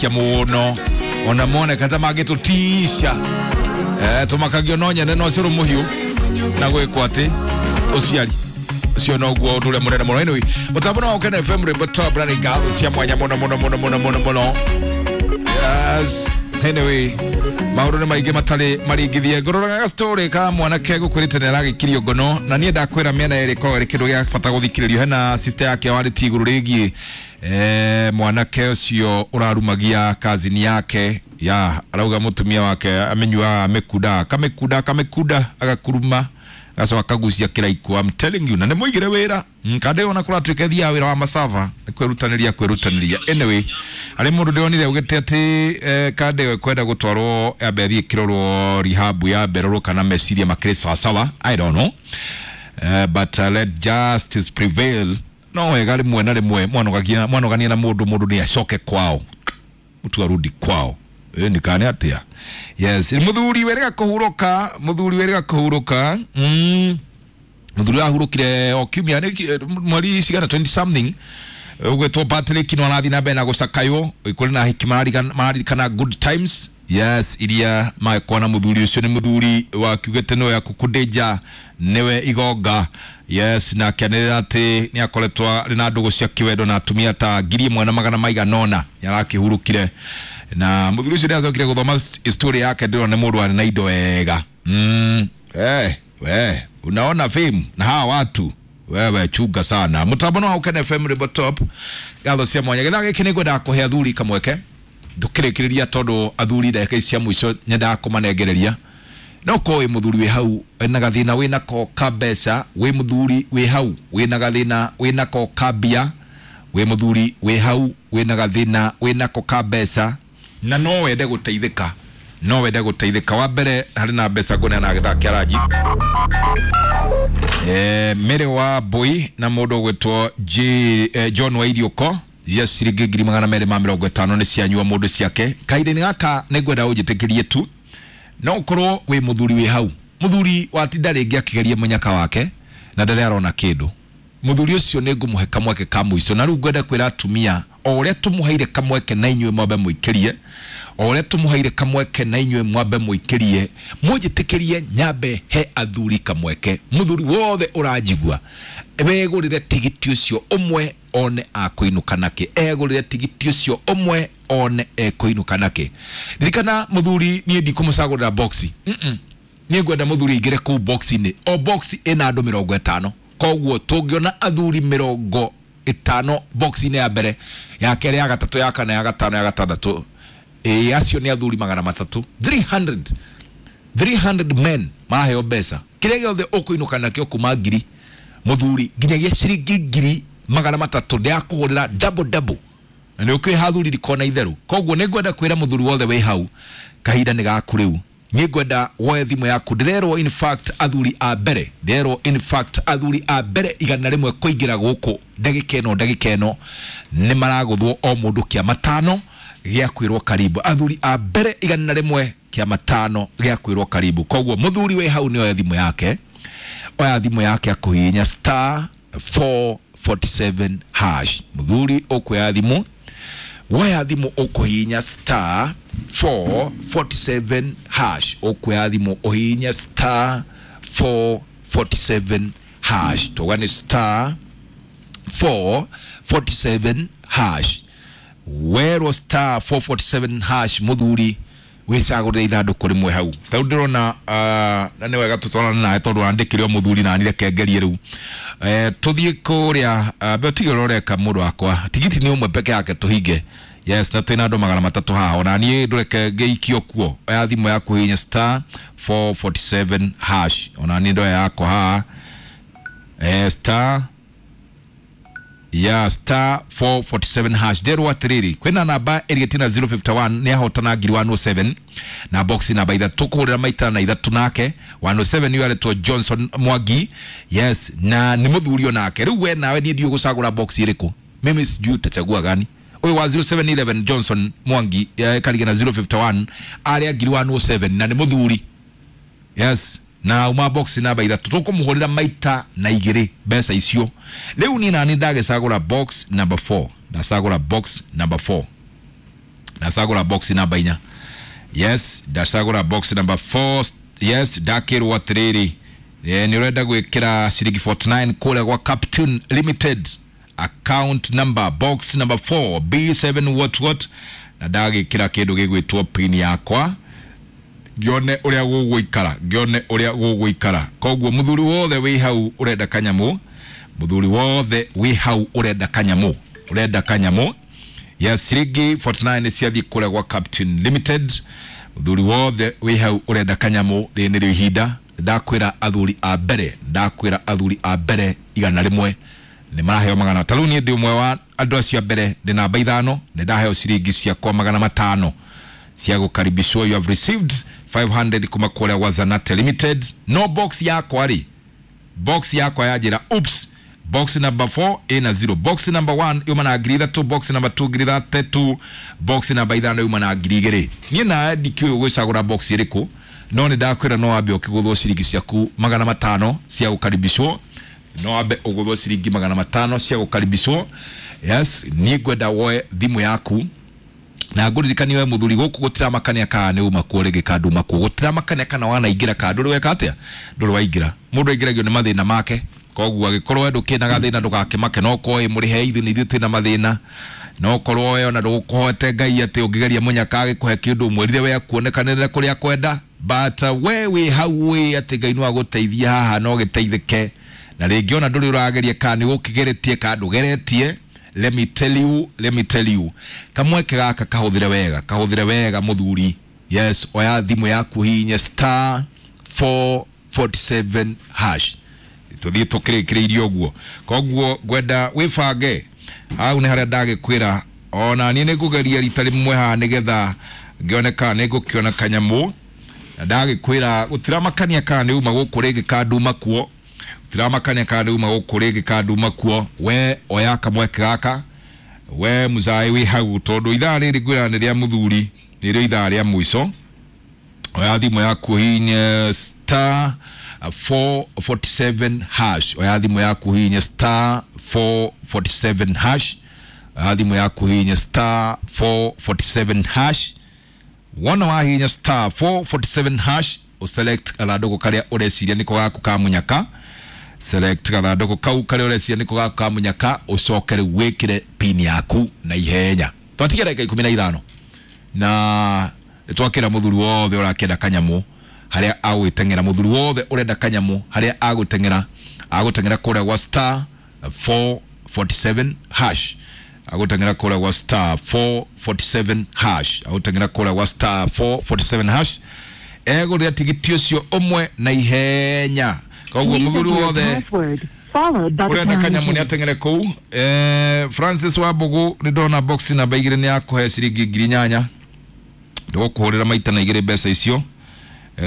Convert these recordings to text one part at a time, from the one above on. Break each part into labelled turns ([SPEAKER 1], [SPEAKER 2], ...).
[SPEAKER 1] Kia muno ona mone kata magitutisha tumakagio no nyene no curu muhiu na gwikwo ati uciari ucio noguo undu uria munene muno. Anyway, mutambo no Ukene FM rwimbo top na ngatho cia mwanya muno muno muno muno muno muno. Yes, anyway, maundu nĩ maingĩ matarĩ maringithie. Ngũroraga story ka mwanake gũkwĩrĩte nĩ aragĩkirio ngono, na niĩ ndakwĩra mĩena ĩrĩ ĩkoragwo ĩrĩ kĩndũ gĩa bata gũthikĩrĩrio. Hena sister yake warĩtie igũrũ rĩgiĩ mwanake ũcio ũrarumagia kazini yake ya arauga mũtumia wake amenyuaga amĩkunda akamĩkunda akamĩkunda agakuruma agacoka akagucia kĩraiko. I'm telling you, na nĩ mũigĩre wĩra kandĩ ona kũratuĩka thiaga wĩra wa masava nĩ kwĩrutanĩria kwĩrutanĩria. Anyway, harĩ mũndũ ndĩronire augĩte atĩ kandĩ ĩyo ĩkwenda gũtwarwo yambe ĩthiĩ ĩkĩrorwo rehab ya mberorwo kana meciria makĩrĩ sawasawa, I don't know. But let justice prevail. No wega rĩmwe na rĩmwe mwanogania na mũndũ, mũndũ nĩ acoke kwao, mtu arudi kwao. Ndikane atia. Yes, muthuri werega kuhuruka, muthuri werega kuhuruka. Muthuri ahurukire o kiumia mweri cigana 20 something. Ugwetwo Patrick no arathi na mbere na gucakaywo kuri na hiki maririkana good times. Yes, iria magĩkorwo na muthuri ucio ni muthuri wakiugĩte nĩwe akũkũndĩnja nĩwe igonga. Yes, na akĩanĩrĩra atĩ nĩ akoretwo arĩ na ndũgũ cia kĩwendo na atumia ta 1500 nĩ arakĩhurũkire. Na muthuri ucio nĩacokire gũthoma story yake, ndĩrona nĩ mũndũ warĩ na indo wega. We unaona fame na hawa watu wewe chunga sana. Mutambo no Ukene FM rwimbo top ngatho cia mwanya. Gĩthaa gĩkĩ nĩngwendaga kũhe athuri kamweke ndũkĩrĩkĩrĩria tondu athuri ndagĩka ici cia mũico nyendaga kũmanengereria. No korwo wĩ mũthuri wĩ hau wĩna gathĩna wĩnako ka mbeca, wĩ mũthuri wĩ hau wĩna gathĩna wĩnako ka mbia, wĩ mũthuri wĩ hau wĩna gathĩna wĩnako ka mbeca na no wende gũteithĩka, no wende gũteithĩka. Wa mbere harĩ na mbeca ngũneana gĩthaa kĩa ranji Mary wa Mbui na mũndũ ũgwĩtwo John Wairiũko. Yes, ciringi 250 nĩ cianyua mũndũ ciake. Kahinda-inĩ gaka nĩ ngwenda ũnjĩtĩkĩrie tu, no ũkorwo wĩ mũthuri wĩ hau, mũthuri watinda rĩngĩ akĩgeria mũnyaka wake na ndarĩ arona kĩndũ. Mũthuri ũcio nĩ ngũmũhe kamweke ka mũico, na rĩu ngwenda kwĩra atumia o ũrĩa tũmũheire kamweke na inyuĩ mwambe mũikĩrie, o ũrĩa tũmũheire kamweke na inyuĩ mwambe mũikĩrie, mũnjĩtĩkĩrie nyambe he athuri kamweke. Mũthuri wothe ũranjigua wegũrĩre tigiti ũcio ũmwe one akũinũka nake, egũrĩre tigiti ũcio ũmwe one ekũinũka nake. Ririkana mũthuri, niĩ ndikũmũcagũrĩra boxi. Niĩ ngwenda mũthuri aingĩre kũu boxi-inĩ, o boxi ĩna andũ 50. Koguo tũngĩona athuri 50 boxi-inĩ ya mbere, ya kerĩ, ya gatatũ, ya kana, ya gatano, ya gatandatũ, acio nĩ athuri 300, 300 men maraheo mbeca. Kĩrĩa gĩothe ũkũinũka nakĩo kuma ngiri mũthuri nginyagia ciringi 300 ndĩrakũhũrĩra double double, na nĩ ũkĩha athuri rikona itheru. Koguo nĩ ngwenda kwĩra mũthuri wothe wĩ hau, kahinda nĩ gaku rĩu. Niĩ ngwenda woe thimũ yaku. Ndĩrerwo in fact athuri a mbere, ndĩrerwo in fact athuri a mbere 100 kũingĩra gũkũ ndagĩka ĩno, ndagĩka ĩno nĩ maragũthwo o mũndũ kĩa matano gĩa kwĩrwo karibu. Athuri a mbere 100 kĩa matano gĩa kwĩrwo karibu. Koguo mũthuri wĩ hau nĩ oe thimũ yake, oya thimũ yake akũhihinya star 447 hash. Mũthuri ũkuoya thimũ, woya thimũ ũkũhihinya star 447 hash, ũkuoya thimũ ũhihinye star 447 hash. Tuga nĩ star 447 hash. Werwo star 447 hash mũthuri wĩcagũrĩre ithandũkũ rĩmwe hau. Tarĩu ndĩrona na nĩ wega tũtwarane nawe tondũ wandĩkire o mũthuri na nireke ngerie rĩu. Tũthiĩ kũrĩa mbere tige ũrĩa ũreka mũndũ wakwa, tigiti nĩ ũmwe peke yake tũhinge. Yes, na twĩna andũ 300 haha, ona niĩ ndũreke ngĩikio kuo. Oya thimũ yaku hihinya star 447 hash, ona niĩ ndoya yakwa haha star ya star 447 hash. Nderwo atĩrĩrĩ, kwĩna namba ĩrĩgĩtie na 051 nĩ ahotana 107 na box namba ithatũ kũhũrĩra maita na ithatũ nake 107 nĩyo aretwo Johnson Mwangi. Yes, na nĩ mũthuri onake. Rĩu we nawe niĩ ndiũĩ gũcagũra box ĩrĩkũ, mimi sijui utachagua gani. Ũyũ wa 0711 Johnson Mwangi karige na 051 arĩa 107 na nĩ mũthuri. Yes, na uma box namba ithatũ tũkũmũhũrĩra maita na igĩrĩ mbeca icio. Rĩu niĩ nani ndagĩcagũra box number 4, ndacagũra box number 4. Ndacagũra box namba 4. Yes, ndacagũra box number 4. Yes, ndakĩrwo atĩrĩrĩ, nĩ ũrenda gwĩkĩra ciringi 49 kũrĩa gwa Captain Limited, account number box number 4 B7 what what, na ndagĩkĩra kĩndũ gĩgwĩtwo pin yakwa ngione ũrĩa gũgũikara, ngione ũrĩa gũgũikara. Koguo mũthuri wothe wĩ hau ũrenda kanyamũ, mũthuri wothe wĩ hau ũrenda kanyamũ, ũrenda kanyamũ ya ciringi 49 nĩ ciathiĩ kũrĩa gwa Captain Limited. Mũthuri wothe wĩ hau ũrenda kanyamũ, rĩrĩ nĩrĩo ihinda. Ndakwĩra athuri a mbere, ndakwĩra athuri a mbere 100 nĩ maraheo magana. Ta rĩu niĩ ndĩ ũmwe wa andũ acio a mbere, ndĩ namba 5, nĩ ndaheo ciringi ciakwa 500 cia gũkaribishwo. You have received 500 kuma kũrĩa gwa Zanate Limited. No box yakwa rĩ, box yakwa yanjĩra oops, box number 4 ina 0, box number 1 yuma na 3,000, box number 2 3,000, box number 5 yuma na 2,000. Niĩ nawe ndikĩũĩ gwĩcagũra box ĩrĩkũ, no nĩ ndakwĩra no wambe ũkĩgũthwo ciringi ciaku 500 cia gũkaribishwo, no wambe ũgũthwo ciringi 500 cia gũkaribishwo. Yes, niĩ ngwenda woe thimũ yaku na ngũririkanie we mũthuri, gũkũ gũtiramakania kana nĩ uma kuo rĩngĩ kana nduma kuo, gũtiramakania kana wanaingĩra kana ndũrĩ weka atĩa, ndũrĩ waingĩra. Mũndũ aingĩragio nĩ mathĩna make, koguo angĩkorwo we ndũkĩna gathĩna ndũgakĩmake, no korwo wĩ mũrĩhe ithuĩ nĩ ithuĩ twĩna mathĩna, no korwo we ona ndũgũkũhoete Ngai atĩ ũngĩgeria mũnyaka agĩkũhe kĩndũ ũmwĩrire we akuonekanĩre kũrĩa kwenda, but we wĩ hau wĩ atĩ Ngai no agũteithie haha no gĩteithĩke, na rĩngĩ ona ndũrĩ ũrageria kana nĩ ũkĩgeretie kana ndũgeretie. Let me tell you, let me tell you, kamweke gaka kahũthĩre wega, kahũthĩre wega mũthuri. Yes, oya thimũ yaku hihinye star 447 hash, tũthiĩ tũkĩrĩkĩrĩirie ũguo. Koguo ngwenda wĩbange hau nĩ harĩa ndagĩkwĩra, ona niĩ nĩ ngũgeria rita rĩmwe haha nĩgetha ngĩone kana nĩ ngũkĩona kanyamũ, na ndagĩkwĩra gũtiramakania kana nĩ uma gũkũ rĩngĩ kana nduma kuo, gũtiramakania kana nĩ uma gũkũ rĩngĩ kana nduma kuo. We oya kamweke gaka, we mũcaĩ wĩ hau, tondũ ithaa rĩrĩ ngwĩra nĩ rĩa mũthuri, nĩrĩo ithaa rĩa mũico. Oya thimũ yaku hihinye star 447 hash, oya thimũ yaku hihinye star 447 hash, oya thimũ yaku hihinye star 447 hash. Wona wahihinya star 447 hash, uselect gathandũkũ karĩa ũreciria nĩko gaku ka mũnyaka, select gathandũkũ kau karĩa ũreciria nĩko gaku ka mũnyaka, ũcoke rĩu wĩkĩre pin yaku na ihenya. Twatigia ndagĩka 15 na twakĩra mũthuri wothe ũrakĩenda kanyamũ harĩa agwĩteng'era, mũthuri wothe ũrenda kanyamũ harĩa agũteng'era, agũteng'era kũrĩa gwa star 447 hash, agũteng'era kũrĩa gwa star 447 hash, agũteng'era kũrĩa gwa star 447 hash, egũrĩra tigiti ũcio ũmwe na ihenya. Koguo mũthuri wothe ũrenda kanyamũ nĩ ateng'ere kũu. Francis Wambugu nĩ ndona box namba 2 nĩ yakũhe ciringi 8,000, ndũgũkũhũrĩra maita na 2 mbeca icio.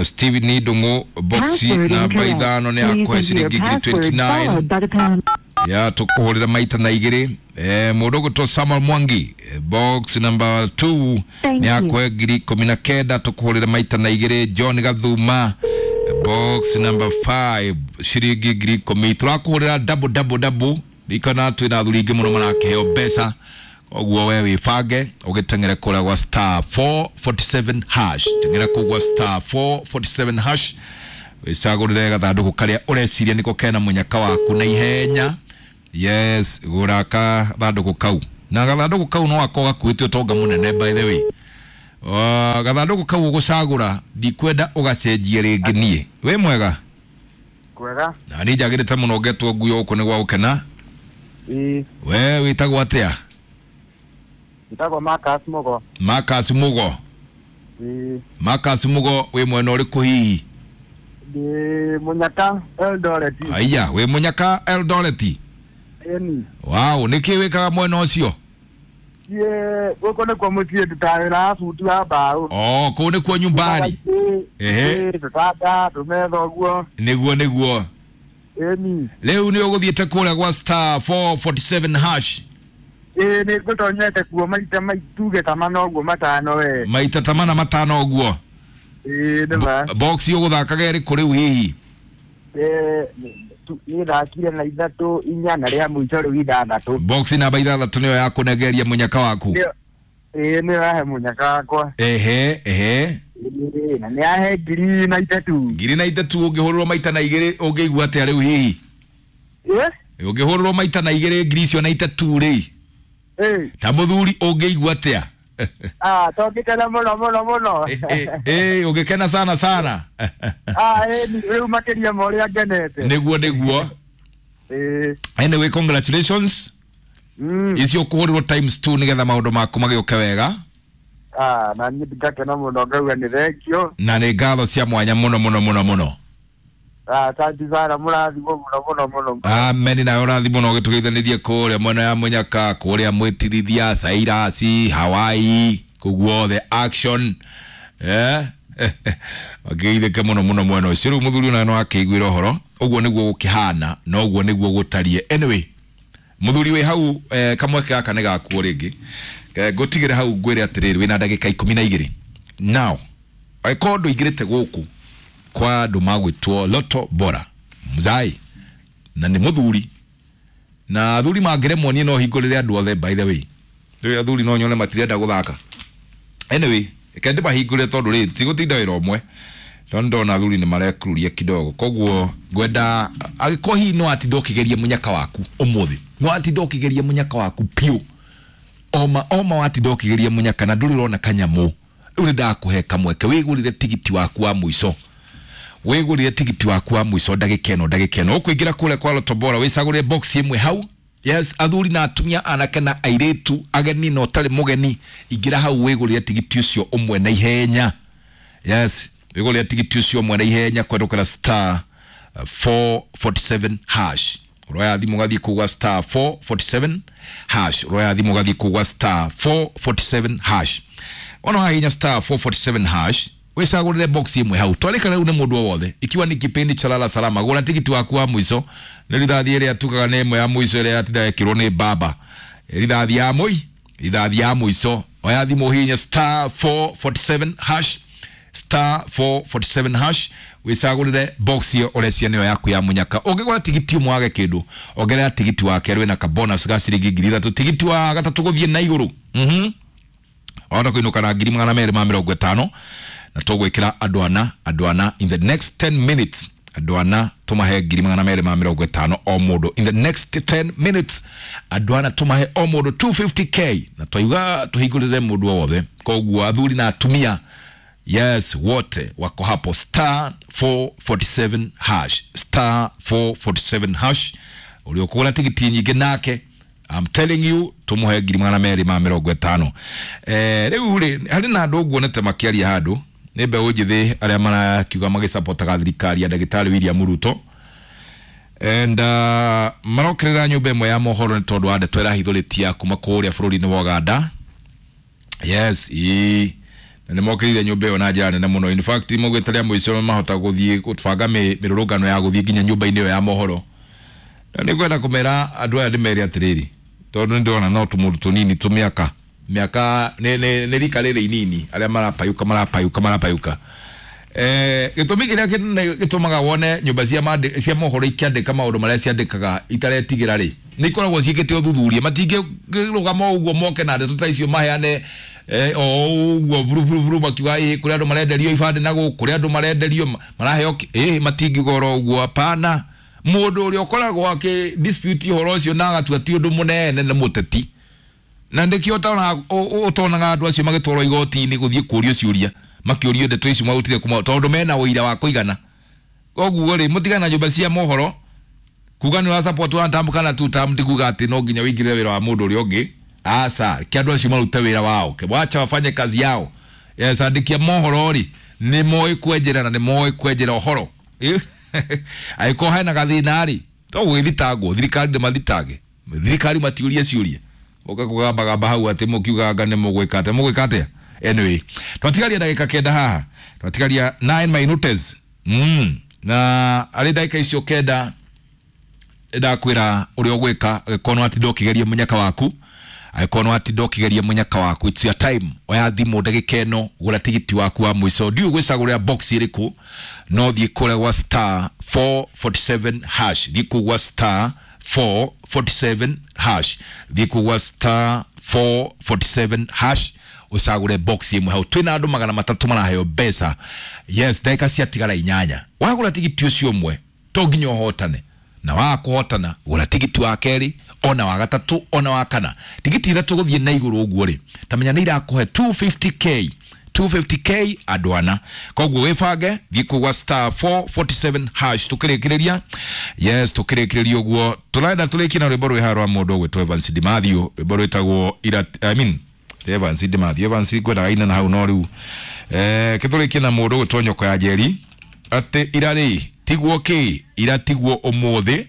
[SPEAKER 1] Steven Ndung'u box namba 5 nĩ yakũhe ciringi 29, ya tũkũhũrĩra maita na 2. Mũndũ ũgwĩtwo Samuel Mwangi box number 2 nĩ yakũhe 19,000, tũkũhũrĩra maita na 2. John Gathuma box number 5 ciringi 10,000, tũrakũhũrĩra double double double, ikana twĩna athuri aingĩ mũno marakĩheo mbeca. Koguo we wĩbange ũgĩteng'ere kũrĩa gwa star 447 hash, teng'era kũu gwa star 447 hash, wĩcagũrĩre gathandũkũ karĩa ũreciria nĩko kena mũnyaka waku na ihenya. Yes, gũra gathandũkũ kau, na gathandũkũ kau no gakorwo gakuĩte ũtonga mũnene by the way. Gathandũkũ kau ũgũcagũra ndikwenda ũgacenjie rĩngĩ. Niĩ wĩ mwega?
[SPEAKER 2] Kwega.
[SPEAKER 1] Na niĩ njagĩrĩte mũno ngetwo nguo gũkũ nĩ gwa gũkena. We wĩtagwo atĩa?
[SPEAKER 2] Njĩtagwo Marcus Mugo.
[SPEAKER 1] Marcus Mugo. Marcus Mugo wĩ mwena ũrĩkũ hihi?
[SPEAKER 2] Ndĩ Mũnyaka Eldoret.
[SPEAKER 1] Aya, wĩ Mũnyaka Eldoret?
[SPEAKER 2] Ĩni.
[SPEAKER 1] Wow, nĩkĩ wĩkaga mwena ũcio?
[SPEAKER 2] Niĩ gũkũ nĩkuo mũciĩ ndutaga wĩra wa bundi wa mbaũ.
[SPEAKER 1] Oh, kũu nĩkuo nyumbani. Ehe.
[SPEAKER 2] Tũtanda, tũmetha ũguo.
[SPEAKER 1] Nĩguo nĩguo.
[SPEAKER 2] Ĩni.
[SPEAKER 1] Rĩu nĩ ũgũthiĩte kũrĩa gwa star 447 hash?
[SPEAKER 2] Ĩĩ nĩ ngũtonyete kuo maita tuge ta mana ũguo matano we.
[SPEAKER 1] Maita ta mana matano ũguo?
[SPEAKER 2] Ĩĩ nĩ ma.
[SPEAKER 1] Box ũgũthakaga ĩrĩkũ rĩu hihi?
[SPEAKER 2] Niĩ thakire na 3 4 na rĩa mũico rĩu 6.
[SPEAKER 1] Box namba 6 nĩyo yakũnegeria mũnyaka waku?
[SPEAKER 2] Ĩĩ nĩ yahe mũnyaka wakwa.
[SPEAKER 1] Ehe ehe.
[SPEAKER 2] Ĩĩ na nĩ yahe 1003.
[SPEAKER 1] 1003 ũngĩhũrĩrwo maita na igĩrĩ ũngĩigua atĩa rĩu hihi?
[SPEAKER 2] Ĩĩ.
[SPEAKER 1] Ũngĩhũrĩrwo maita na igĩrĩ ngiri icio na itatu rĩ.
[SPEAKER 2] Ĩĩ.
[SPEAKER 1] Ta mũthuri ũngĩigua atĩa?
[SPEAKER 2] Ah, tongĩkena mũno mũno mũno.
[SPEAKER 1] Ĩĩ ũngĩkena sana sana.
[SPEAKER 2] Ah, ĩĩ rĩu makĩria ma ũrĩa ngenete.
[SPEAKER 1] Nĩguo nĩguo.
[SPEAKER 2] Ĩĩ.
[SPEAKER 1] Anyway, congratulations. Icio ũkũhũrĩrwo times 2 nĩgetha maũndũ maku magĩũke wega.
[SPEAKER 2] Ah, na niĩ ngakena mũno ngauga nĩ thengio.
[SPEAKER 1] Na nĩ ngatho cia mwanya mũno mũno mũno mũno.
[SPEAKER 2] Ah, asante sana mũrathimwo mũno mũno mũno.
[SPEAKER 1] Amen nawe ũrathimwo na ũgĩtũgeithanĩrie kũrĩa mwena ya Mũnyaka, kũrĩa Mwĩtirithia, Sairasi, Hawaii, kũu guothe action. Eh? Makĩgeithĩke mũno mũno mwena ũcio. Rĩu mũthuri ũyũ no akĩiguĩra ũhoro ũguo nĩguo gũkĩhana na ũguo nĩguo gũtariĩ. Anyway, mũthuri wĩ hau kamweke gaka nĩ gakuo rĩngĩ. Ngũtigĩre hau ngwĩre atĩrĩrĩ, wĩna ndagĩka 12 now. Angĩkorwo ndũingĩrĩte gũkũ kwa andũ magwĩtwo Lotto Bora mzai na nĩ mũthuri na athuri mangĩremwo niĩ no hingũrĩre andũ othe, by the way rĩu athuri no nyone matirenda gũthaka. Anyway, reke ndĩmahingũrĩre tondũ rĩ tigũtinda wĩra ũmwe tondũ ndona athuri nĩ marekururia kidogo, koguo ngwenda angĩkorwo hihi no atinda ũkĩgeria mũnyaka waku ũmũthĩ, no atinda ũkĩgeria mũnyaka waku piũ, oma oma watinda ũkĩgeria mũnyaka na ndũrĩ ũrona kanyamũ, rĩu nĩ ndakũhe kamweke wĩgũrĩre tigiti waku wa mũico. Wĩgũrĩre tigiti waku wa mũico ndagĩka ĩno ndagĩka ĩno. Ũkũingĩra kũrĩa kwa Lotto Bora wĩcagũrĩre box ĩmwe hau. Yes, athuri na atumia, anake na airĩtu, ageni na ũtarĩ mũgeni, ingĩra hau wĩgũrĩre tigiti ũcio ũmwe na ihenya. Yes, wĩgũrĩre tigiti ũcio ũmwe na ihenya kwendũkĩra star 447 hash. Ũroya thimũ ũgathiĩ kũgwa star 447 hash. Ũroya thimũ ũgathiĩ kũgwa star 447 hash. Wona wahihinya star 447 hash wĩcagũrĩre box ĩmwe hau. Twarĩka rĩu nĩ mũndũ o wothe, ikiwa ni kipindi cha lala salama, gũra tigiti waku wa mũico. Nĩ rithathi ĩrĩa tugaga nĩ ĩmwe ya mũico ĩrĩa yatinda ĩkĩrwo nĩ baba, rithathi ya mũi rithathi ya mũico. Oya thimũ hihinya star 447 hash, star 447 hash, wĩcagũrĩre box ĩyo ũrecia nĩyo yaku ya mũnyaka. Ũngĩgũra tigiti ũmwe wage kĩndũ, ongerera tigiti wa kerĩ wĩna ka bonus ga ciringi 3000, tigiti wa gatatũ gũthiĩ na igũrũ. Wahota kũinũka na 250,000 na tũgwĩkĩra andũ ana, andũ ana in the next 10 minutes, andũ ana tũmahe 250,000 o mũndũ in the next 10 minutes, andũ ana tũmahe o mũndũ 250k, na twaiga tũhingũrĩre mũndũ o wothe. Koguo athuri na atumia, yes, wote wako hapo star 447 hash, star 447 hash. Ũrĩa ũkũgũra tigiti nyingĩ nake, I'm telling you, tũmũhe 250,000. Rĩu rĩ harĩ na andũ nguonete makĩaria handũ nĩ mbeũ njĩthĩ arĩa marakiuga magĩcapotaga thirikari ya ndagĩtarĩ William Ruto and marokerera nyũmba ĩmwe ya mohoro nĩ tondũ wa ndeto ĩrahithũrĩtia kuma kũrĩa bũrũri-inĩ wa Uganda. Yes, ĩĩ na nĩmokĩrĩire nyũmba ĩyo na njĩra nene mũno. In fact, maugĩte rĩa mũico mahota gũthiĩ gũbanga mĩrũrũngano ya gũthiĩ nginya nyũmba-inĩ ĩyo ya mohoro. Na nĩngwenda kũmera andũ aya ndĩmere atĩrĩrĩ, tondũ nĩndĩrona no tũmũndũ tũnini tũmĩaka mĩaka nĩ rika rĩrĩ inini arĩa marapayũka marapayũka marapayũka. Gĩtũmi kĩrĩa kĩnene gĩtũmaga wone nyũmba cia mohoro ikĩandĩka maũndũ marĩa ciandĩkaga itaretigĩra rĩ, nĩ ikoragwo ciĩkĩte ũthuthuria. Matingĩrũgama ũguo moke na ndeto ta icio maheane o ũguo buru buru buru makiuga ĩ kũrĩ andũ marenderio ibandĩ na gũkũ, kũrĩ andũ marenderio maraheo ĩ matingiuga oro ũguo, hapana. Mũndũ ũrĩa ũkoragwo akĩ dispute ũhoro ũcio na agatua ti ũndũ mũnene nĩ mũteti, na nĩkĩo ũtonaga andũ acio magĩtwarwo igoti-inĩ gũthiĩ kũũrio ciũria, makĩũrio ndeto icio marutire kuma tondũ mena ũira wa kũigana. Koguo rĩ, mũtigane na nyũmba cia mohoro kuga nĩ ũra support one term kana two term, ti kuga atĩ no nginya ũingĩrĩre wĩra wa mũndũ ũrĩa ũngĩ. Aca, reke andũ acio marute wĩra wao, wacha wafanye kazi yao. Yes, andĩki a mohoro rĩ nĩ moĩ kwenjera na nĩ moĩ kwenjera ũhoro. Angĩkorwo hena gathĩna rĩ, to gũgĩthitangwo, thirikari ndĩmathitange, thirikari matiũrie ciũria, ũka kũgambagamba hau atĩ mũkiugaga nĩ mũgwĩka atĩa, mũgwĩka atĩa. Anyway, twatigaria ndagĩka 9 haha, twatigaria 9 minutes. Na arĩ ndagĩka icio 9 ndakwĩra ũrĩa ũgwĩka angĩkorwo nĩwatinda ũkĩgeria mũnyaka waku, angĩkorwo nĩwatinda ũkĩgeria mũnyaka waku, it's your time. Oya thimũ ndagĩka ĩno, gũra tigiti waku wa mũico. Ndiũĩ gwĩcagũrĩra box ĩrĩkũ, no thiĩ kũrĩa gwa star 447 hash, thiĩ kũu gwa star 447 hash, thiĩ kũu gwa star 447 hash. Ucagure box imwe hau. Twina andu 300 maraheo mbeca. Yes, ndagika ciatigara 8. Wagura tigiti ucio umwe to nginya uhotane, na wa kuhotana gura tigiti wa keri, ona wa gatatu, ona wa kana. Tigiti ithatu guthie na iguru uguo ri, tamenya ni irakuhe 250k, 250k andu ana. Koguo wibange, thiĩ kũgwa star 447 hash tukĩrĩkĩrĩria. Yes, tukĩrĩkĩrĩria ũguo tũrenda tũrĩkie na rwĩmbo rwĩ haha rwa mũndũ ũgwĩtwo Evans Dimathio, rwĩmbo rwĩtagwo ira, I mean Evans Dimathio, Evans ngwendaga ina na hau no rĩu kĩtũrĩkie na mũndũ ũgwĩtwo Nyoko ya Njeri, atĩ ira rĩ tiguo kĩ ira tiguo ũmũthĩ.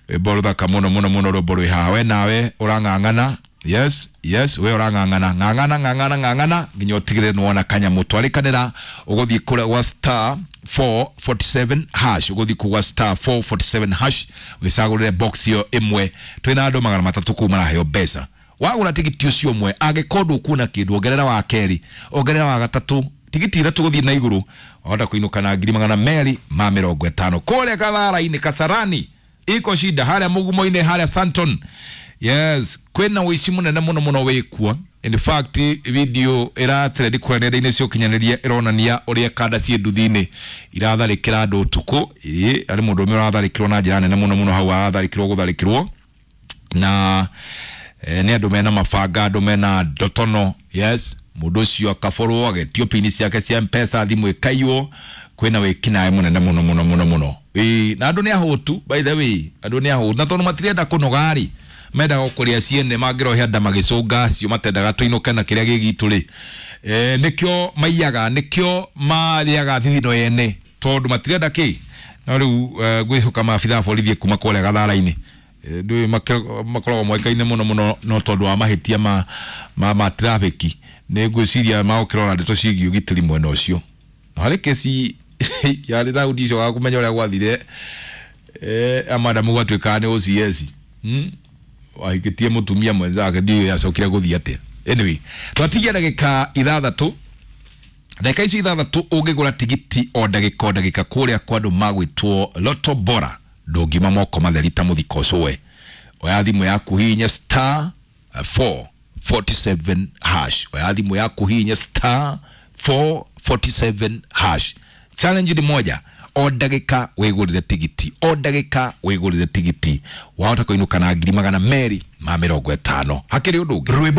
[SPEAKER 1] Rwĩmbo rũthaka mũno mũno mũno, rwĩmbo rwĩ haha. We nawe ũrang'ang'ana. Yes, yes, we ũrang'ang'ana, ng'ang'ana, ng'ang'ana, ng'ang'ana nginya ũtigĩrĩre nĩwona kanyamũ. Twarĩkanĩra ũgũthiĩ kũrĩa gwa star 447 hash, ũgũthiĩ kũgwa star 447 hash wĩcagũrĩre box ĩyo ĩmwe. Twĩna andũ 300 kũu maraheo mbeca. Wagũra tigiti ũcio ũmwe, angĩkorwo ndũkuona kĩndũ, ongerera wa kerĩ, ongerera wa gatatũ. Tigiti ithatũ gũthiĩ na igũrũ wahota kũinũka na 250,000. Kũrĩa Kathara-inĩ, Kasarani iko shida, harĩa mũgumo-inĩ, harĩa Santon. Yes, kwĩna ũici mũnene mũno mũno wĩkuo. In fact, video ĩratrend kũrĩa nenda-inĩ cia ũkinyanĩria ĩronania ũrĩa kanda ciĩ nduthi-inĩ iratharĩkĩra andũ ũtukũ. Ĩĩ, harĩ mũndũ ũmwe ũratharĩkĩrwo na njĩra nene mũno mũno hau, aratharĩkĩrwo gũtharĩkĩrwo na nĩ andũ mena mabanga, andũ mena ndotono. Yes, mũndũ ũcio akaborwo, agetio pini ciake cia Mpesa, thimũ ĩkaiywo. Kwĩna wĩkinaĩ mũnene mũno mũno mũno mũno. Ĩĩ, na andũ nĩ ahũtu, by the way, andũ nĩ ahũtu, na tondũ matirenda kũnoga rĩ, mendaga kũrĩa ciene, mangĩrohe nda magĩcũnga acio matendaga tũinũke na kĩrĩa gĩ gitũ rĩ, nĩkĩo maiyaga, nĩkĩo marĩaga thithino ene, tondũ matirenda kĩ. No rĩu ngwĩhoka maabithaa borithi kuma kũrĩa Gathara-inĩ, ndũĩ makoragwo moĩkaine mũno mũno no tondũ wa mahĩtia ma traffic, nĩ ngwĩciria magũkĩrora ndeto ciĩgiĩ ũgitĩri mwena ũcio. Na harĩ kesi yarĩ raundi icio wa kũmenya ũrĩa gwathire, amadamu gwatuĩkaga nĩ OCS, wahikĩtie mũtumia mwenzake, ndiũĩ acokire gũthiĩ atĩa. Anyway, twatigia ndagĩka 6, ndagĩka icio 6 ũngĩgũra tigiti o ndagĩka o ndagĩka kũrĩa kwa andũ magwĩtwo Lotto Bora, ndũngiuma moko matheri ta mũthiko ũcũwe. Oya thimũ yaku, hihinya star 447 hash. Oya thimũ yaku, hihinya star 447 hash. Challenge ni moja, o ndagĩka wĩgũrĩre tigiti, o ndagĩka wĩgũrĩre tigiti, wahota kũinũka na 250,000. Hakĩrĩ ũndũ ũngĩ.